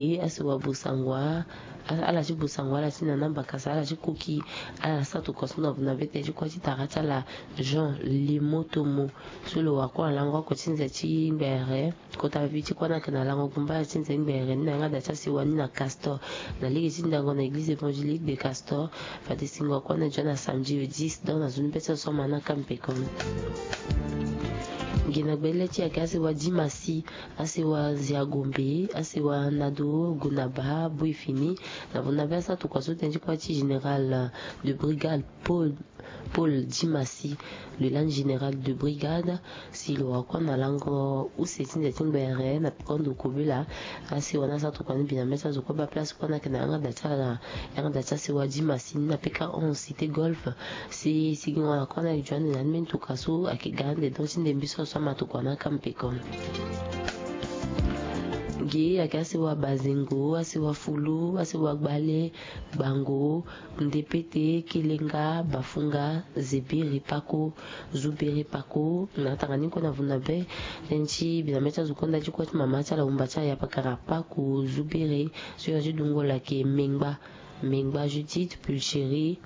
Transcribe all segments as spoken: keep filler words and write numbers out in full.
Asi wa Bosangwa, ala ti Bosangwa, ala ti Nana Bakasa, ala ti Koki, ala sa tokua so na vuna be tënë ti kua ti tara ti ala Jean Limotomo. So lo wa kua na lango oko ti nze ti ngbere, kota vi ti kua ni ayeke na lango gumbaya ti nze ti ngbere ni na yanga da ti asiwa ni na Castor, na lege ti ndango na église évangélique de Castor. Fade singo akua na e nzoni na samedi le dix, donc na zo ni be ti so so ama na kampe kono. Nge na gbele ti ayeke asiwa Dimasi, asiwa Ziagombe, asiwa Nado, Gonaba, Boifini. Na vuna be asa tokua so tënë ti kua ti général de brigade Paul, Paul Dimasi, le lani général de brigade, si lo wa kua na lango use ti nze ti ngbere na peko ndo kobela. Asiwa ni asa tokua ni bi na mê ti azo kue baa place kue ni ayeke na yanga da ti ala, yanga da ti asiwa Dimasi ni na P K onze cité Golf. Si sigingo na kue ni ayeke zo ande na ni mbeni tokua so ayeke ga ande donc ti ndembe so so ama tokua na kampe kono. Ge ayeke asiwa Bazengo, asiwa Fulu, asiwa Gbale, Gbango, Ndepete, Kelenga, Bafunga, Zebiri Pako, Zubiri Pako. Na tanga ni kue na vuna be tënë ti bi na mê ti azo kue nda ti kue ti mama ti ala wumba ti ala ya pakara Pako, Zubiri. So ya ti dungo la ayeke Mengba, Mengba Judith, Pulchérie.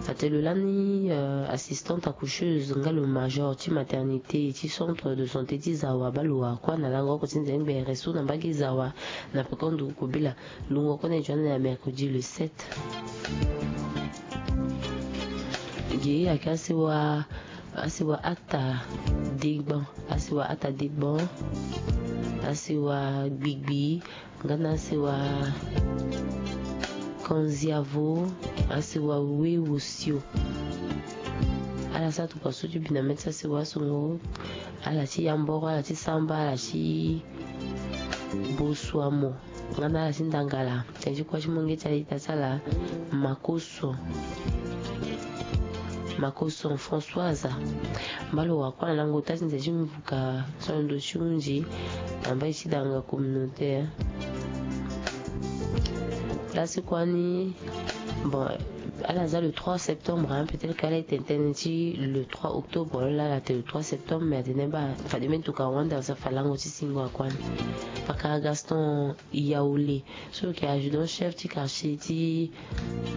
Atene lo lani, euh, assistante accoucheuse nga lo major ti maternité ti centre de santé ti Zawa baa lo wa kua na lango oko ti nze ngbere so na mbage Zawa na peko ndo kobela. Lungo kue na e nzoni na mercredi le sept. Ge ayeke asiwa, asiwa Ata Degban, asiwa Ata Degban, asiwa Gbigbi, nga na asiwa Konziavo, asiwa Wewosio. Ala sa tokua so ti bi na mê ti asiwa asungo, ala ti Yamboro, ala ti Samba, ala ti Bosuamo, nga na ala ti Ndangala. Tënë ti kua ti munge ti ala ita ti ala Makoso, Makoso Françoise. Mba lo wa kua na lango ota ti nze ti mvuka so na ndo ti hunzi na mbai ti danga communautaire. Place kua ni, bon, ala za le trois septembre, hein, peut-être que ala e tene tënë ti le trois octobre, lo laa ala tene le trois septembre, mais atene baa fade mbeni tokua wande aza fa lango ti singo akua ni. Pakara Gaston Yaoulé, so lo yeke adjudant chef ti quartier ti,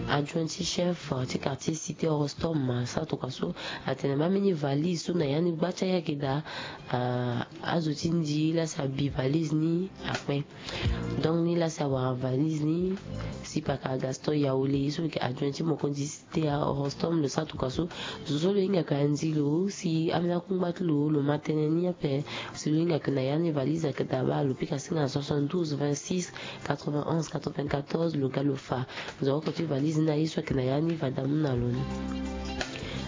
adjoint ti chef ti quartier cité Orostom, asara tokua so atene baa mbeni valise so na ya ni gba ti ayeke daa, ah, azo ti ndi laa si abi valise ni akpe. Donc ni laa si awara valise ni, si pakara Gaston Yaoulé so lo yeke adjoint ti mokonzi ti Orostom lo sara tokua so. Zo so lo hinga yeke na nzi lo si ambeni akungba ti lo, lo ma tënë ni ape. Si lo hinga yeke na ya ni valise ayeke daa baa lo pika singa na soixante-douze vingt-six quatre-vingt-onze quatre-vingt-quatorze, lo ga lo fa nzoko ti valise ni na ye so ayeke na ya ni, va damu na lo ni.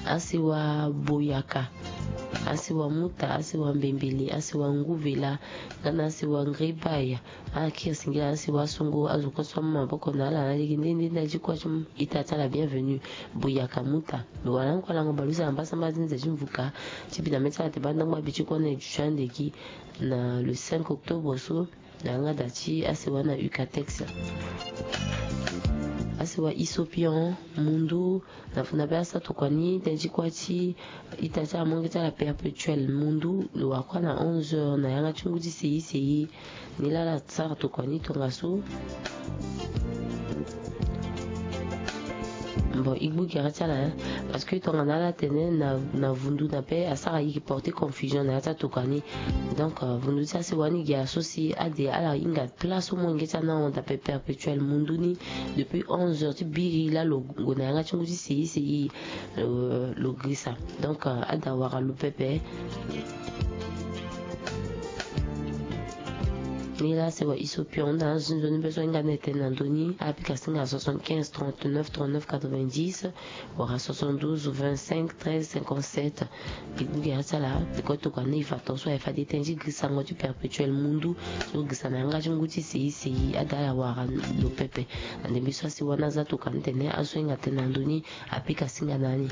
Asiwa Boyaka, asiwa Muta, asiwa Mbembele, asiwa Nguvela, nga na asiwa Ngribaya. Ala kiri singila asiwa asungo, azo kue so amu maboko na ala na lege nde nde nda ti kue ti mu ita ti ala bienvenue. Boyaka Muta lo wara ni kue lango baleuse na mbasambala ti nze ti mvuka ti bi na mê ti ala te baa ndangba bi ti kue na e duti ande gi na le cinq octobre so. Na yanga da ti asiwa na Ucatex. Asiwa Isopion Mundu, na funa be asara tokua ni tënë ti kua ti ita ti amonge ti ala Perpétuel Mundu, lo wa kua na onze heures na yanga ti ngu ti seyi seyi. Ni laa ala sara tokua ni tongaso. Bon, e gbu gere ti ala, hein, parce que tongana ala tene na, na vundu na pe asara e yeke porter confusion na ya ti atokua ni. Donc, euh, vundu ti asiwa ni gi aso si ade ala hinga place so molenge ti ala ni ahon daa pe Perpétuel Mundu ni depuis onze heures ti biri laa lo gue na yanga ti ngu ti seyi seyi, euh, lo girisa. Donc, euh, ada wara lo pepe. Ni laa asiwa Isopion, na azo ti nzoni be so ahinga na e tene na ndö ni, apika singa soixante-quinze trente-neuf trente-neuf quatre-vingt-dix, wala soixante-douze vingt-cinq treize cinquante-sept. E gbu gere ti ala, e kue tokua ni e fa tongaso, aye fade tënë ti girisango ti Perpétuel Mundu so girisa na yanga ti ngu ti seyi seyi, ada ala wara lo pepe. Na ndembe so asiwa ni aza tokua ni tene azo so ahinga tene na ndö ni apika singa na ni.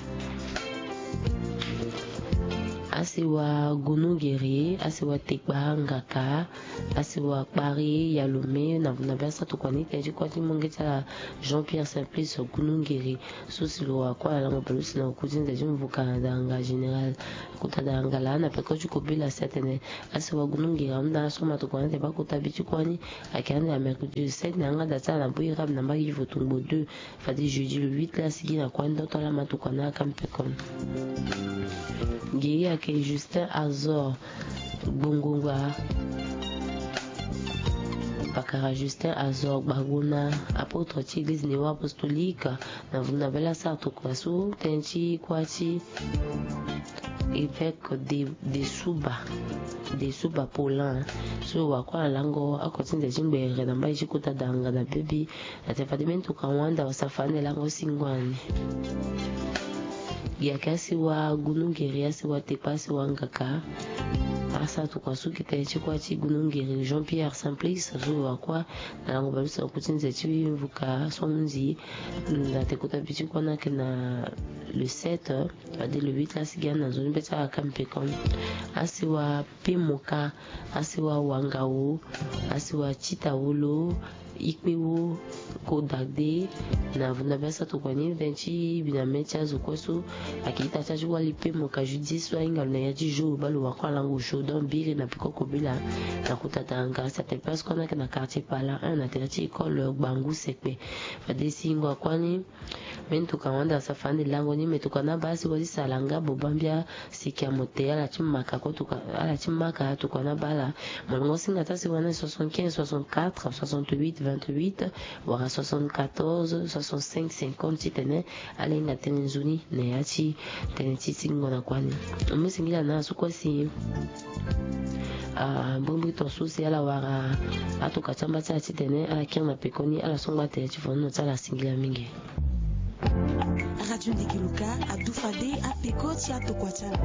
Asewa Gunungere, asewa Tekpa Ngaka, asewa Kpari Yalome, na vuna be asara tokua ni tënë ti kuâ ti monge ti ala Jean Pierre Simplice Gunungere. So si lo wa kuâ na lango bale use na oku ti nze ti mvuka na daranga général. Kota daranga laa na peko ti kobela si atene asewa Gunungere ahunda na so ma tokua ni atene baa kota bi ti kuâ ni ayeke ande na mercredi le sept na yanga da ti ala na Boy Rab na mbage ti Votungbo deux. Fade jeudi le huit la asigi na kuâ ni ndö to ala ma tokua na aka mpekoni. Ngeri ayeke Justin Azor Gbongongba. Pakara Justin Azor Gbagona, apôtre ti église néo-apostolique, na vuna be la asara tokua so tënë ti kuâ ti évêque de, de Suba, de Suba Paulin. So wa kuâ na lango oko ti nze ti ngbere na mbage ti kota daranga na bebi. Na te fade mbeni tokua ahunda wasa fade lango si ngua ni. Gi ayeke asewa Gunungere, asewa Tekpa, asewa Ngaka. Asara tokua so gi tënë ti kuâ ti Gunungere Jean Pierre Simplice so wa kuâ na lango bale use na oku ti nze ti mvuka so ahundi. Na te kota bi ti kuâ ni ayeke na le sept, fade le huit la asigi ande na nzoni be ti ala aka mpekoni. Asewa Pemoka, asewa Wangao, asewa Titawolo, Ikpewo, Kodagde. Na vuna be asara tokua ni tënë ti bi na mê ti azo kue so ayeke ita ti azo ti wali Pemoka Judith so ahinga lo na ya ti jour baa lo wa kuâ na lango osio donc biri na peko kobela. Na kota daranga si atene place kuâ ni ayeke na quartier Pala un na tere ti école Gbangu Sekpe. Fade si ngua kuâ ni mbeni tokua ahunda wasa fade lango ni me tokua ni abaa si wa ti sala nga bobambia. Siki amote ala ti maka ko tokua, ala ti maka tokua ni abaa ala. Molongo singa ti asewa ni soixante-quinze soixante-quatre soixante-huit vingt-huit wala soixante-quatorze soixante-cinq cinquante titene ala hinga tënë nzoni na ya ti tënë ti singo na kuâ ni. Mbi singila na ala so kue si, ah, mbrimbri ton so si ala wara atoka ti amba ti ala titene ala kiri na pekoni ala songba tënë ti fonono ti ala singila mingi. Radio Ndegeluka adu fade apeko ti atokua ti ala.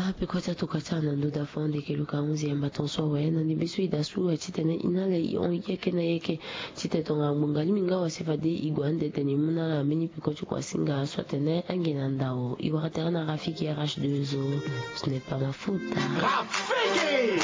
Apeko ti atokua ti ala na ndo da fo ande Ndegeluka ahunzi yamba ton so awe na ndembe so e da su aye titene e na ala e hon yeke na yeke titene tonga ngbonga lingbi nga wa si fade e gue ande tene e mu na ala mbeni peko ti kua singa so atene ange na ndao e wara tere na Rafiki R H deux O. Ce n'est pas ma faute. Rafiki!